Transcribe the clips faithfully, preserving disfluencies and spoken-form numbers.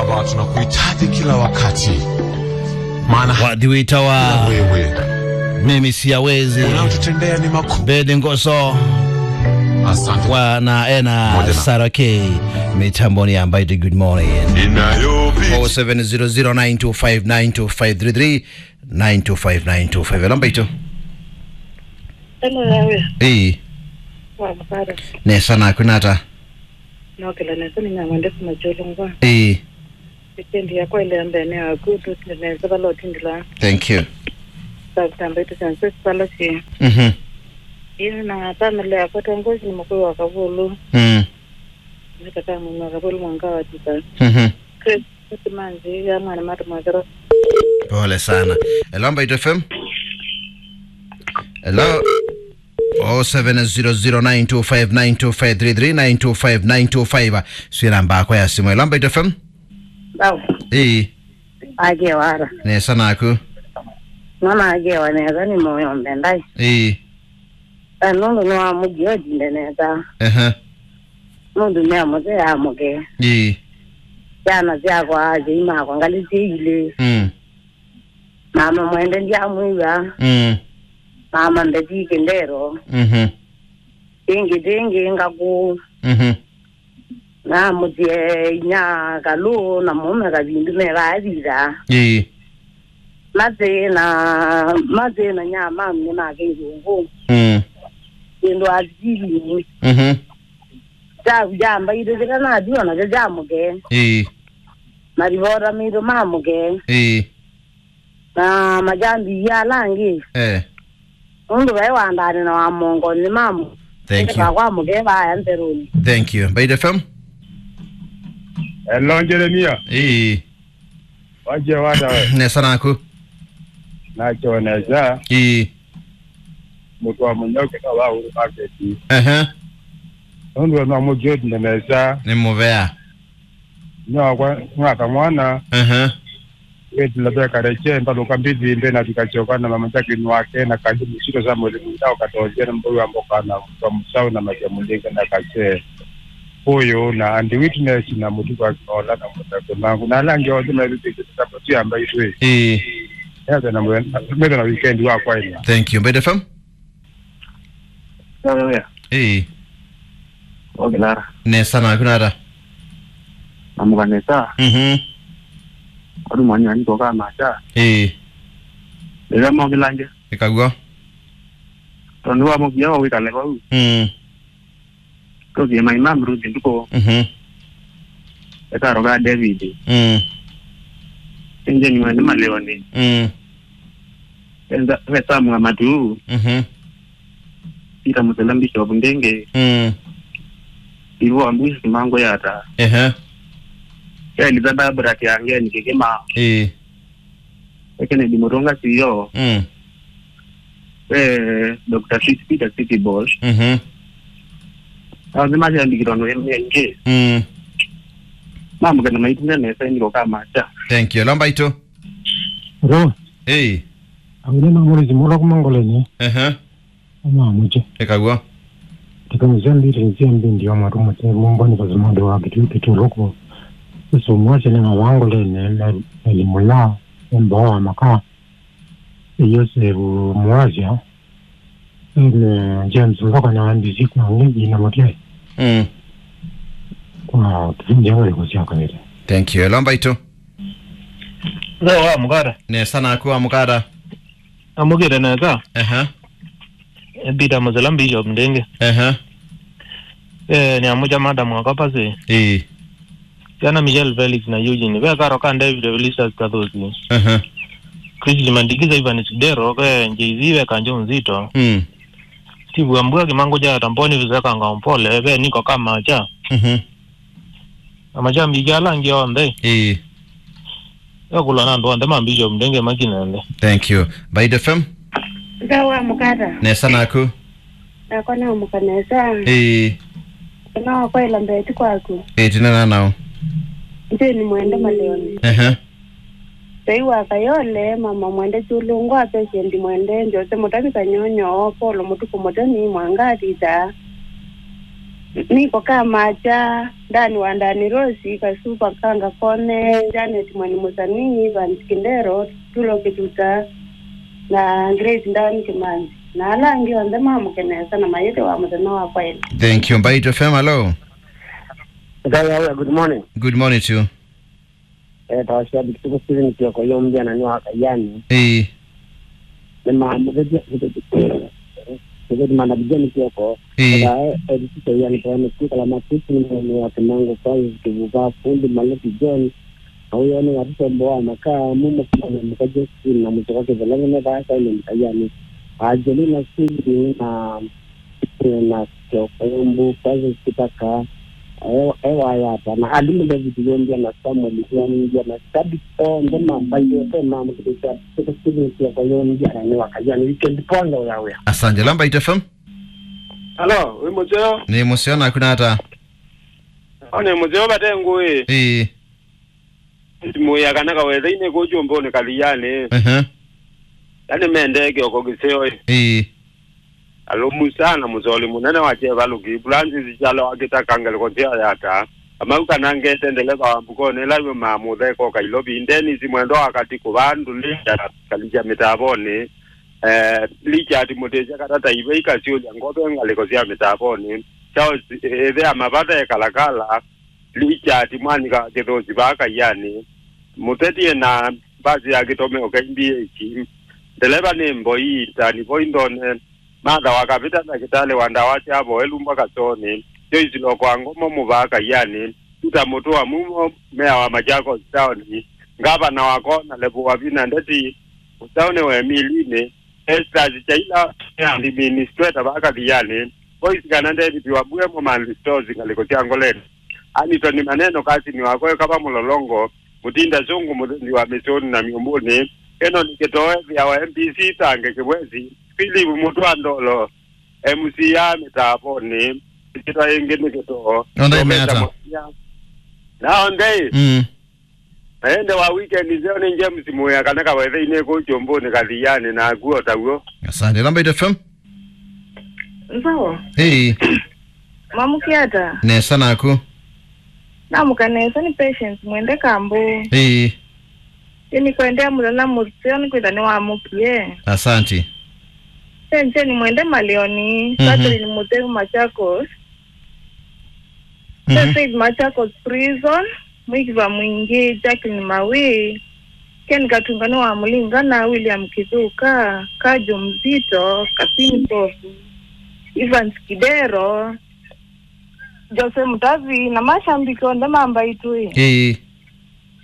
Baba, tunakuhitaji kila wakati. Maana wathi witawa wewe mimi siyawezi unaotutendea ni makuu. Bedi Ngoso. Asante. Wa na ena Moja na. Sarah K. Mitamboni ya Mbaitũ, good morning. Inayopita. Oh seven zero zero nine two five nine two five three three, nine two five nine two five. Hello, Mbaitũ. Hello, yawe. Ĩĩ. Wa mukara. Nesa naku nata? Nokela nesa, nĩ Nyamwende kuma Kyolongwa. Ĩĩ. Wikendi yakwa ĩlea mbene yaku, tũtinde nesa vala ũtindĩla. Thank you. Sakutamba itu syanse sipala si. Mhm. Ĩĩ, na family yakwa tongozi nĩ mũkũĩ wa Kavulu. Mm. Nĩtaka mwana wa Kavulu mwanga wa tisa. Mhm. Chris, Chris Manzi, ya mwana mata mwakero. Pole sana. Hello, Mbaitũ F M. Hello. Oh seven zero zero nine two five nine two five three three, nine two five nine two five. Sio namba yako ya simu. Hello, Mbaitũ F M. Bau. Ĩĩ. Akewa ata? Nesa naku. Mama akewa nesa, nĩ mũyo mbendai. Ĩĩ. Na nũndũ nĩ wa mũthio ndinde nesa. Ehe. Mũndũ nĩ amũte amũke. Ĩĩ. Syana syakwa, asyai makwa, ngalĩ syĩ ilĩ. Mm. Mama Mwende ndiamwĩw'a. Mm. Mama Mbeti Kĩndero. Mhm. Ĩngĩ, ĩngĩ ngakũ. Mhm. Na mũtie inya Kalũ na mũme Kavindu me vaa thitha. Ĩĩ. Mathĩ na, mathĩ na nyamamu nĩ make irungu. Mm. Kĩndũ atili. Mhm. Kyaku kya Mbaitũ kĩla nathiwa nakyo kya mũke. Ĩĩ. Marivota maitũ ma mũke. Ĩĩ. Na majambi ala angĩ. Eh. Nũndũ vai wandani na wa mongo nĩ mamu. Thank you. Kwa mũke vaya nzeruni. Thank you. Mbaitũ F M. Hello, Jeremia. Ĩĩ. Waje wada we. Nesa naku. Nacho nesa. Ĩĩ. Mũtu wa mũnyauke na wa uru market. Ehe. Nũndũ no mũjodi nesa. Nĩ mũvea. Nĩ wakwa, mwaka mwana. Ehe. Wĩtĩla vekale kye, mbalũka mbithi mbĩ na vikasyoka na mama Jacqueline wake na Kali Mũsito Samuel Mũndao Katonzia na Mbũi wa Mboka na Mutwa Mũsaũ na Matia Mũlinga na Kase. Ũyũ na Andy Witness na Mũtuku wa Kinola na Mũtako Mangu na ala angĩ onthe methĩtĩte sabato ya Mbaitũ. Ĩĩ. Metha na mwe-, metha na weekend wa kwaina. Thank you. Mbaitũ F M? Sawa, wea. Ĩĩ. Ogelara. Nesa naku nata? Namuka nesa. Mhm. Kwani mwana niko kama cha. Ĩĩ. Ĩla mogelange. Ĩkaw'o. Tondũ wa mũvia wa wĩkale vau. Mm. Tũthie mai mam Ruth nduko. Mhm. Ekaro ga David. Mm. Enje ni mwende maleoni. Mm. Enza, ve Samu wa Matu. Mhm. Peter Musela Bishop Ndenge. Mm. Ivo Ambusi Mango Yata. Ehe. Elizabeth Barakia Ngeni Kikima. Eh. Kennedy Mutunga C E O. Mm. Eh, Doctor Fitz Peter City Boss. Mhm. Aonde masyandikirwa no M N K. Mm. Mamũkana maitune nesa niko kama cha. Thank you. Lomba ito. Ro. Hey. Awine mamuri zimura kuma ngoleni. Ehe. Ama muche. Eka guo. Tekano cia mbiri cia mbindi wa matu muche mumbo ni kazi mundu wa kitu kitu loko. Usu mwache ni mawango lene na elimu ya mbo wa maka. Yosefu Mwasya, ene James Mboka na N B C kwa ngi na Mutai. Mm. Kwa kipindi yangu ya kusia kawaida. Thank you. Hello, Mbaitũ. Hello, wa Mukata. Nesa naku wa Mukata. Amukite nesa. Ehe. Peter Musela Bishop Ndenge. Ehe. Eh, ni amucha madam wa kapasi. Ii. Yana Michelle Felix na Eugene. Ve karo ka David Felicitas Kathosi. Ehe. Chris Limandikiza, Ivan Sidero, ve J Z, ve Kanjo Nzito. Mm. Steve Ambua, Kimango cha Tamboni, Vizeka Ngampole, ve Niko kama cha. Mhm. Na machambi ala angĩ onthe. Ĩĩ. Ekulwa na andũ onthe ma Bishop Ndenge makinende. Thank you. Mbaitũ F M? Nza wa Mukata. Nesa naku? Nakwa namũka nesa. Ĩĩ. Ĩno wakwa ĩla mbeti kwaku. Ĩĩ, tinena nao. Nzĩ ni mwende maleoni. Ehe. Vei wa Kayole, mama mwende Chulungwa, Patient mwende, Jose Mutavi Kanyonyo, Paulo Mutuku Mutemi, Mwanga Thitha. Niko Kamakya, Ndani wa Ndani, Rosi Kasupa, Kanga Kone, Janet Mwani Musani, Evans Kindero, Tulo Kituta, na Grace Ndani Kimanzi. Na ala angĩ onthe mamũke nesa na mayĩthĩwa mũthenya wa kwaĩla. Thank you. Mbaitũ F M, hello. Ngai awe, good morning. Good morning to you. Eh, tawashabiki tuko Steven Kioko, yo mjana ni wa Kayani. Ĩĩ. Nĩmamũthetie, nĩmamũthetie mana Kijani Kioko. Ĩĩ. Eka, eh, editisa yani kwa ni kala matusi ni mwana wa Kimango kwa Kivuva, fundi Maliki John. Au yani watoto ambao wanakaa mumo kwa mkaje na mtoka Kivalanga na baya kwa ni Kayani. Angelina Steven na na Kioko Yombu, Francis Kitaka, e-, Ewayata, na Alimu David Yombia, na Samuel Yombia, na Sabi, onthe mambaitwe, mamũkĩlĩsya, Stephen Kioko Yombia, na nĩ wa Kayani, weekend poa, ngai awe. Asante. Hello, Mbaitũ F M. Hello, wĩ mũseo? Nĩ mũseo, naku nata? O nĩ mũseo, vate ngũĩ. Ĩĩ. Mũya kana kawetheinĩ kũu kyũmbũnĩ Kathianĩ. Ehe. Yaani mendee Kioko kĩseo ĩ. Ĩĩ. Alũmu sana mũsoli mũnene wa Kyeva Luki, Francis Kyalo akĩtaka ngeleko sya yata. Amau kana ngete ndeleva wa mbukonĩ ĩla yumaa mũtheko Kailovi, Dennis Mwendwa wa Katĩ kũvaa ndũlĩ ya kalikya mĩtavonĩ. Eh, Richard Mũtĩsya katata ivei kasyũlya ngove ngalĩko sya mĩtavonĩ. Charles, eh, ĩthea mavata ekalakala. Richard Mwanika Kĩthũsi vaa Kaianĩ, mũteti ena mbasi ya kĩtomeo K B H, ndeleva nĩ Mboi, Tani Voi Ndone, Martha wa Kavita, ndakĩtalĩ wa ndawa sya vo Elumba Kasonĩ, Joyce Loko wa Ngomo mũvaa Kaianĩ, Peter Mũtũa Mumo, mea wa Machakos Town, ngavana wa Kona Levu wa Vina Ndeti, mũsaũnĩ wa Emilinĩ, Estas Chaila, administrator vaa Kathianĩ, Voice kana David Wabue Momani Stores ngalĩko sya Ngoleni. Anitoni Maneno, kasini wakwa, Kava Mũlolongo, Mũtinda Zungu, mũthũnzi wa mĩsũnĩ na myũmbũnĩ, Kenoni Kĩtoo, ethĩa wa M P C, Tange Kĩwesi, Philip Mũtwa Ndolo, M C ya mĩtavonĩ, ĩkĩtwa ĩngĩ nĩ Kĩtoo. Onthe Professor imeata. Mũsia. Na onthe. Mm. Na ĩndĩ wa weekend nzeo nĩ James Mũya kana kawetheinĩ kũu kyũmbũnĩ Kathianĩ naku o taw'o. Asante. Namba eight F M. Nzao. Hey. Mamũkĩa ata? Nesa naku. Namũka nesa, nĩ Patience Mwende Kambu. Hey. Ĩ nĩkwendea mũthenya mũseo nĩkwĩtha nĩwamũkie. Asante. Senzeni Mwende Malioni, mhm, Catherine Mutheu Machakos. Mhm. Faith Machakos Prison, Mwikiva Mwingi, Jacqueline Mawi, Ken Katungani wa Mulinga na William Kithuka, Kajo Mzito, Kasini Kofu, Evans Kidero, Jose Mutavi, na mashambiki onthe ma Mbaitũ. Ĩĩ.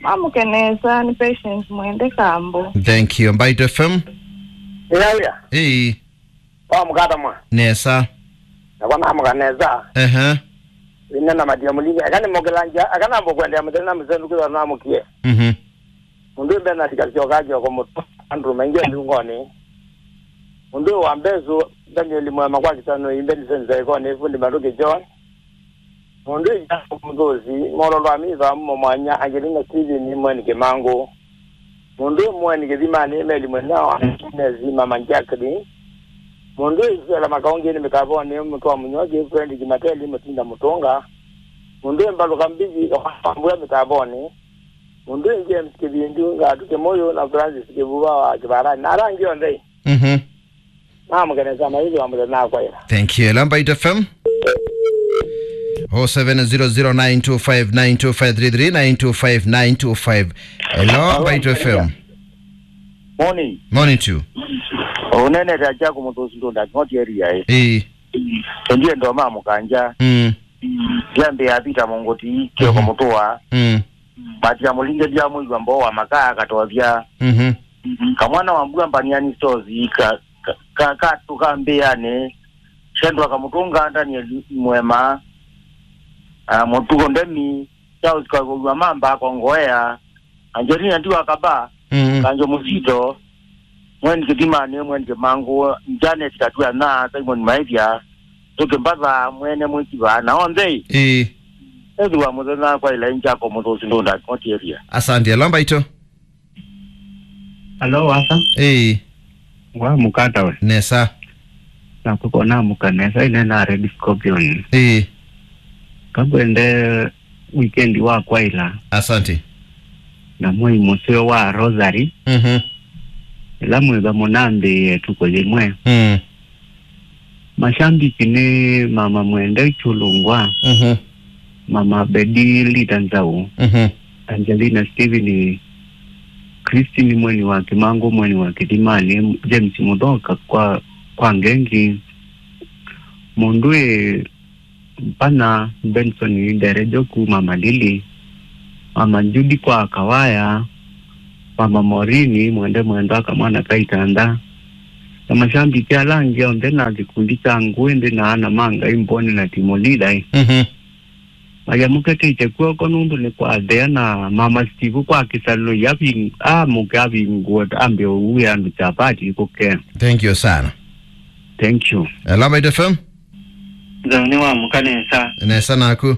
Mamũke nesa, nĩ Patience Mwende Kambu. Thank you. Mbaitũ F M. Ĩya, ĩya. Ĩĩ. Wamũka ata mwa? Nesa. Nakwa namũka nesa. Ehe. Ĩna na matia mũlinga. Aka nĩmũkĩlangya, aka nambo kwendea mũthenya na mũsendu kwĩthwa namũkie. Mhm. Mũndũ mbena tikasyoka Kioko Mũtwa, Andrew Maingi Liungonĩ. Mũndũ wa Mbesu, Daniel Mwema kwa Kisano, Imbe Nzenza Ikoni, Fundi Maruki John. Mũndũ ĩya mũthũsi, Mololo Amiva, Mumo Mwanya, Angelina Steven, Mweni Kĩmangũ. Mũndũ ĩ Mweni Kĩthimanĩ, Meli Mwenao, Agnes, Mama Jacqueline. Mũndũ ĩ Suela Makaũngĩnĩ mĩtavonĩ, Mũtwa Mũnyoki, Fredrick Mateli, Mũtinda Mũtũnga. Mũndũ ĩ Mbalũka Mbithi, Mbua mĩtavonĩ. Mũndũ ĩ James Kĩvindu, Ngatu Kĩmũyũ, na Francis Kĩvuva wa Kĩvarani. Na ala angĩ onthe. Mhm. Namũke nesa, maithi wa mũthenya nakwa ĩla. Thank you. Hello, Mbaitũ F M. Oh seven zero zero nine two five nine two five three three, nine two five, nine two five. Hello, hello, Mbaitũ F M. Morning. Morning to you. Ũnenete Ajaku Mũtũsi Ndũnda, King'oti area, eh. Ĩĩ. Ndiye ndo mamũkangya. Mm. Ndiambĩa Peter Mũngũti, Kioko, mhm, Mũtũa. Mm. Matia Mũlinge, Ndia Mũigua Mboo wa Makaa, Katothya. Mhm. Kamwana wa Mbua, Mbaniani Stores, ka, ka, ka, katũka mbĩanĩ, Shendwa Kamũtũnga, Daniel Mwema, ah, Mũtuko Ndemi, Charles Kagũlwa Mamba, Kongoea, Angelina Ndiwa Kaba, mhm, Kanjo Mũsito, Mweni Kĩthimanĩ, Mweni Kĩmangũ, Janet Katuana, Simon Maithya, Tũkĩ Mbatha, Mwene Mwĩkiva, na onthe. Ĩĩ. Ethĩwa mũthenya kwa ila inja ko Mũtũsi Ndũnda, King'oti area. Asante. Hello, Mbaitũ. Hello, Wasa. Ĩĩ. Wamũka ata we? Nesa. Nakwa namũka nesa, ĩnena Red Scorpion. Ĩĩ. Kakwende weekend wa kwaila. Asante. Na mwei mũseo wa Rosary. Mhm. Ĩla mwĩva mũnambĩĩe ĩtukũ yĩmwe. Mm. Mashambiki nĩ Mama Mwende Chulungwa. Mhm. Mama Bedi Lita Nzau. Mhm. Angelina Steven, Christine Mweni wa Kimangu, Mweni wa Kithimani, James Muthoka kwa, kwa Ngengi. Mũndũ ĩ Mpana, Benson Nderejo kuma Malili, Mama Judy kwa Kawaya, Mama Morini, Mwende Mwendwa, Kamwana ka Itanda, na mashambiki ala angĩ onthe na kĩkundi kya Ngũĩ Nthĩ na Ana ma Ngai Mboni na Timolilai. Mhm. Mayamũketĩte kw'oko nũndũ nĩ kwathea na Mama Steve kwa kĩsalo yaving-, amũke avingũe ambe ũue andũ chapati kũke. Thank you sana. Thank you. Hello, Mbaitu F M. Nzau nĩ wamũka nesa. Nesa naku.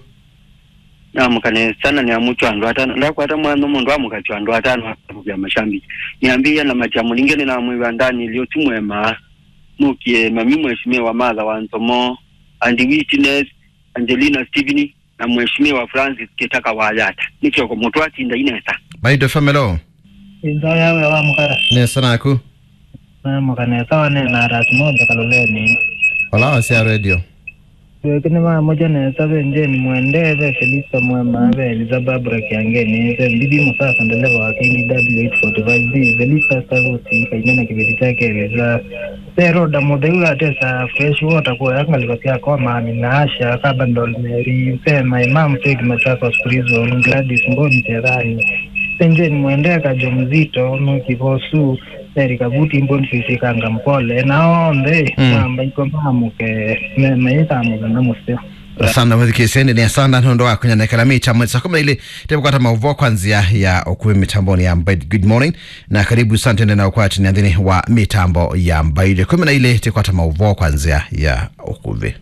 Namũka nesa na nĩamũkya andũ atano. Ndakwata mwana mũndũ amũkakya andũ atano akavũkĩa mashambiki. Nĩambĩĩa na Matia Mũlinge nĩnamwĩw'a Daniel Otimwema. Nũkie mami Mheshimiwa Martha wa Nzomo, Andy Witness, Angelina Steven, na Mheshimiwa Francis Kitaka wa Yata. Nĩ kĩoko mũtũ atinda inesa. Mbaitu F M, hello. Nzau yawe wa mũkara. Nesa naku. Namũka nesa, wanena Aras Moja Kaloleni. Ola wasya radio. Wekini mamũkya nesa, ve Jane Mwende, ve Felista Mwema, ve Eliza Barbara Kiangeni, ve Mbithi Musasa, ndeleva wa K D W eight forty-five B, Felista Savusi, Kaimena kĩveti kyake Eliza, ve Roda Mũtheu atesa Fresh Water kuoya ngalĩko sya Koma, Amina Asha, Kabandol Mary, ve my mom Faith Machakos Prison, Gladys Mboni Tethani, ve Jane Mwende, Kajo Mzito, Nuki Vosu, Eri Kavuti, Mboni Sisi, Kanga Mpole, na onthe, mm, mamba iko mamuke, me, me ita mũthenya mũseo. Sana mũthikĩseni nĩ asanda nũndũ wa kũnyanekela mĩtambo saa kũmi na ilĩ, tĩkwata maũvoo kwa nzĩa ya ũkuvĩ mĩtambonĩ ya Mbaitu. Good morning, na karibu sana tende na ũkwatĩnĩa nthĩnĩ wa mĩtambo ya Mbaitu. Kũmi na ilĩ, tĩkwata maũvoo kwa nzĩa ya ũkuvĩ.